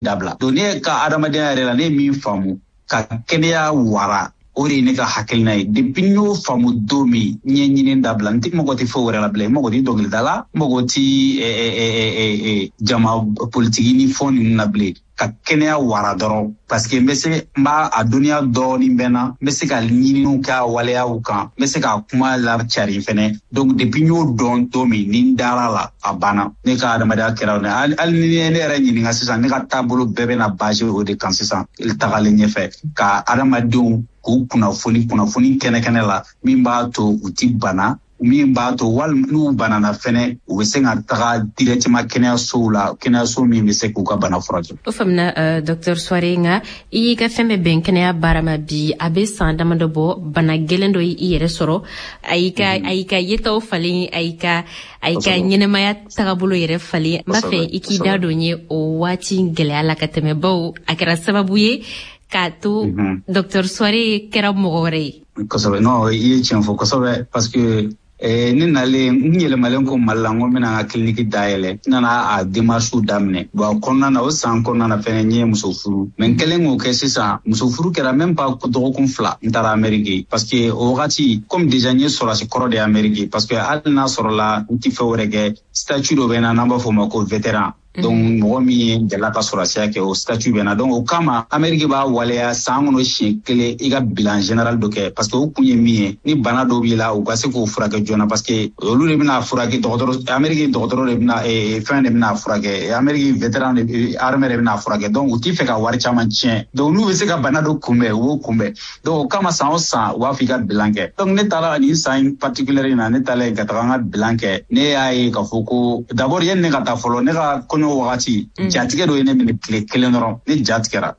Dabila. Donc ne ka adamadenya yɛrɛ la, ne ye min faamu, ka kɛnɛya wara, o de ye ne ka hakilina ye. Depuis n y'o faamu don min, n ye ɲini dabila. N tɛ mɔgɔ tɛ foyi wɛrɛ la bilen. N mago tɛ dɔnkilida la, n mago tɛ jama politiki ni fɛn ninnu na bilen, ka kɛnɛya wara dɔrɔn, parce que n bɛ se, n b'a a dɔnniya dɔɔni bɛ n na, n bɛ se ka ɲininiw kɛ a waleyaw kan, n bɛ se ka kuma lacari fɛnɛ. Donc depuis n y'o dɔn don min ni n dara la, a banna. Ne ka adamadenya kɛra o de. Hali ni ne yɛrɛ ɲininka sisan, ne ka taabolo bɛɛ bɛna base o de kan sisan tagalen ɲɛfɛ, ka adamadenw k'u kunnafoni, kunnafoni kɛnɛ kɛnɛ la, min b'a to u ti bana, min b'a to walima n'u banana fɛnɛ, u bɛ se ka taga directement kɛnɛyasow la, kɛnɛyaso min bɛ se k'u ka bana furakɛ. O faamuna, docteur Souaré. Nka i y'i ka fɛn bɛɛ bɛn kɛnɛya baara ma bi, a bɛ san damadɔ bɔ, bana gɛlɛn dɔ y'i yɛrɛ sɔrɔ, a y'i ka yetaw falen, a y'i ka ɲɛnɛmaya tagabolo yɛrɛ falen. N b'a fɛ i k'i da don ye o waati gɛlɛya la ka tɛmɛ, bawo a kɛra sababu ye k'a to docteur Souaré kɛra mɔgɔ wɛrɛ ye. Kosɛbɛ. Non, i ye tiɲɛ fɔ kosɛbɛ, parce que ne nalen, n yɛlɛmalen ko Mali la, n ko n bɛna n ka clinique dayɛlɛ, n nana a démarche daminɛ. Bon, a kɔnɔna na, o san kɔnɔna na fɛnɛ, n ye muso furu. Mais n kɛlen k'o kɛ sisan, muso furu kɛra même pas dɔgɔkun 2, n taara Amérique, parce que o wagati, comme déjà n ye sɔrɔdasi kɔrɔ de ye Amérique, parce que hali n'a sɔrɔla n tɛ fɛn wɛrɛ kɛ, statut dɔ bɛ n na n'an b'a fɔ o ma ko vétéran. Donc mɔgɔ min ye delila ka sɔrɔdasiya kɛ, o statut bɛ na. Donc o kama, Amérique b'a waleya san kɔnɔ siɲɛ kelen, i ka bilan général dɔ kɛ, parce que o kun ye min ye, ni bana dɔw b'i la, u ka se k'o furakɛ joona, parce que olu de bɛna furakɛ. Dɔgɔtɔrɔ Amérique, dɔgɔtɔrɔ de bɛna, fɛn de bɛna furakɛ, Amérique vétéran de armée de bɛna furakɛ. Donc u t'i fɛ ka wari caman tiɲɛ. Donc n'u bɛ se ka bana dɔ kunbɛn, u b'o kunbɛn. Donc o kama, san o san, u b'a fɔ i ka bilan kɛ. Donc ne taara nin san in particulier in na, ne taalen ka taga n ka bilan kɛ, ne y'a ye k'a fɔ ko d'abord, yanni ne ka taa fɔlɔ, ne ka kɔɲɔ wagati, jatigɛ dɔ ye ne minɛ tile kelen dɔrɔn. Ne ja tigɛra.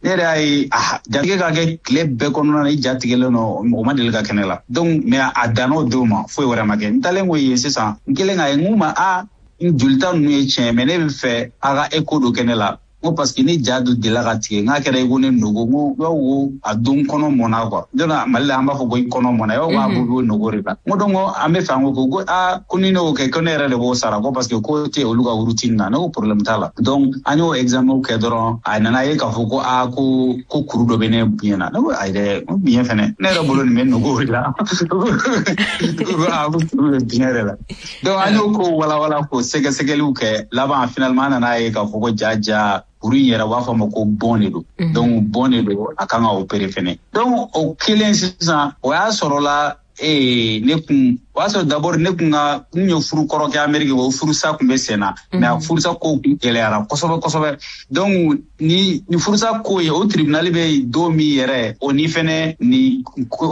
Ne yɛrɛ y'a ye, ah, jatigɛ ka kɛ tile bɛɛ kɔnɔna na, i ja tigɛlen don, o ma deli ka kɛ ne la. Donc mais a danna o don ma, foyi wɛrɛ ma kɛ. N taalen ko yen sisan, n kɛlen k'a ye, n k'u ma: a n jolita ninnu ye tiɲɛ, mais ne bɛ fɛ a ka écho dɔ kɛ ne la. N ko parce que ni ja dɔ delila ka tigɛ, n k'a kɛra i ko ne nogo. N ko i b'a fɔ ko a don kɔnɔ mɔnna quoi. Don Mali la, an b'a fɔ ko i kɔnɔ mɔnna, i b'a fɔ k'a bɔ nogo de la. N ko donc an bɛ fɛ an ko aa, ko ni ne y'o kɛ, ko ne yɛrɛ de b'o sara, ko parce que ko tɛ olu ka routine na. Ne ko problème t'a la. Donc an y'o examen kɛ dɔrɔn, a nana ye k'a fɔ ko aa, ko kuru dɔ bɛ ne biɲɛ na. Ne ko ayi dɛ, n ko biɲɛ fɛnɛ, ne yɛrɛ bolo nin bɛ nogo de la. Ko aa, ko kuru bɛ biɲɛ de la. Donc an y'o ko walawala, k'o sɛgɛsɛgɛliw kɛ. Laban, finalement, an nana ye k'a fɔ ko ja ja, kuru in yɛrɛ, u b'a fɔ a ma ko bɔn de don. Donc bɔn de don, a kan ka opérer fɛnɛ. Donc o kelen sisan, o y'a sɔrɔ la ee ne kun, o y'a sɔrɔ d'abord ne kun ka, n ye furu kɔrɔ kɛ Amérique, o furusa kun bɛ sen na, mais a furusa ko kun gɛlɛyara kosɛbɛ kosɛbɛ. Donc ni furusa ko ye, o tribunal bɛ don min yɛrɛ, o ni fɛnɛ ni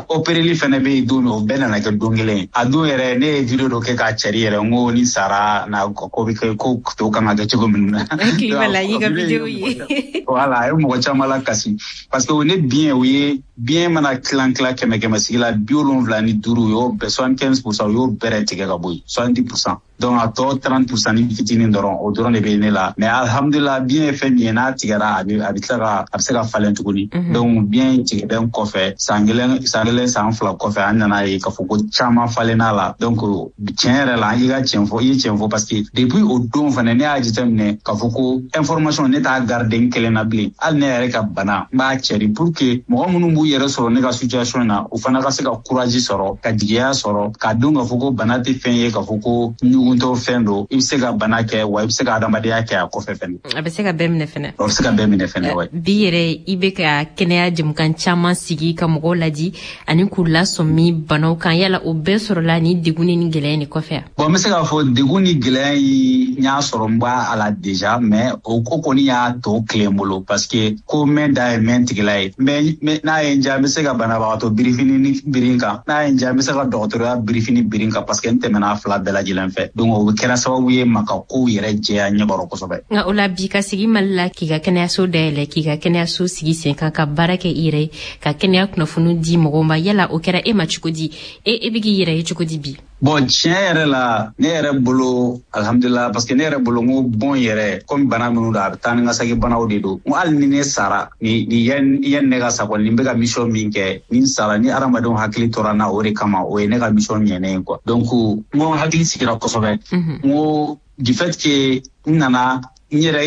opéreli fɛnɛ bɛ yen don min, o bɛɛ nana kɛ don kelen. A don yɛrɛ, ne ye vidéo dɔ kɛ k'a cɛri yɛrɛ, n ko ni sara na, ko bɛ kɛ ko to kan ka kɛ cogo min na. Hakili b'a la, y'i ka vidéo ye. Voilà, a ye mɔgɔ caman la kasi, parce que o ne biɲɛ, o ye biɲɛ mana tilan tilan 100 100 sigi la, 75, u y'o bɛɛ, 75 %, u y'o bɛrɛ tigɛ ka bɔ yen, 70 %. Donc a tɔ 30 % ni fitinin dɔrɔn, o dɔrɔn de bɛ ne la. Mais alhamdulillah, biɲɛ ye fɛn min ye, n'a tigɛra, a bɛ tila ka, a bɛ se ka falen tuguni. Donc biɲɛ tigɛlen kɔfɛ, san kelen, san kelen, san 2 kɔfɛ, an nana ye k'a fɔ ko caman falenna la. Donc tiɲɛ yɛrɛ la, i ka tiɲɛ fɔ, i ye tiɲɛ fɔ, parce que depuis o don fɛnɛ, ne y'a jateminɛ k'a fɔ ko information, ne t'a garder n kelen na bilen. Hali ne yɛrɛ ka bana, n b'a cɛri pour que mɔgɔ minnu b'u yɛrɛ sɔrɔ ne ka situation na, u fana ka se ka courage sɔrɔ, ka jigiya sɔrɔ, k'a dɔn k'a fɔ ko bana tɛ fɛn ye, k'a fɔ ko ɲuguntɔ fɛn don. I bɛ se ka bana kɛ, wa i bɛ se ka adamadenya kɛ a kɔfɛ fɛnɛ. A bɛ se ka bɛɛ minɛ fɛnɛ. A bɛ se ka bɛɛ minɛ fɛnɛ, wa. Bi yɛrɛ, i bɛ ka kɛnɛya jɛmukan caman sigi ka mɔgɔw ladi ani k'u lasɔmi banaw kan. Yala o bɛɛ sɔrɔla ni degun ni gɛlɛya ni kɔfɛ? Bon, n bɛ se k'a fɔ degun ni gɛlɛya in, n y'a sɔrɔ n b'a a la déjà, mais o ko kɔni y'a tɔ tile n bolo, parce que ko mɛn da ye mɛn tigila ye. Mais n'a ye n diya, n bɛ se ka banabagatɔ birifini ni biri n kan, n'a ye n diya, n bɛ se ka dɔgɔtɔrɔya birifini biri n kan, parce que n tɛmɛna a fila bɛɛ lajɛlen fɛ. Donc o kɛra sababu ye ma ka kow yɛrɛ jɛya ɲɛkɔrɔ kosɛbɛ. Nka o la bi, ka sigi Mali la, k'i ka kɛnɛyaso dayɛlɛ, k'i ka kɛnɛyaso sigi sen kan, ka baara kɛ i yɛrɛ ye, ka kɛnɛya kunnafoni di mɔgɔw ma, yala o kɛra e ma cogo di? E bɛ k'i yɛrɛ ye cogo di bi? Bon, tiɲɛ yɛrɛ la, ne yɛrɛ bolo, alhamdulillah, parce que ne yɛrɛ bolo, n ko bon yɛrɛ, komi bana minnu don, a bɛ taa ni ka segin banaw de don. N ko hali ni ne sara, ni yanni ne ka sa kɔni, ni n bɛ ka mission min kɛ, ni n sara, ni hadamadenw hakili tora n na o de kama, o ye ne ka mission ɲɛnen ye quoi. Donc n ko n hakili sigira kosɛbɛ. N ko du fait que n nana N yɛrɛ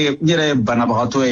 ye banabagatɔ ye.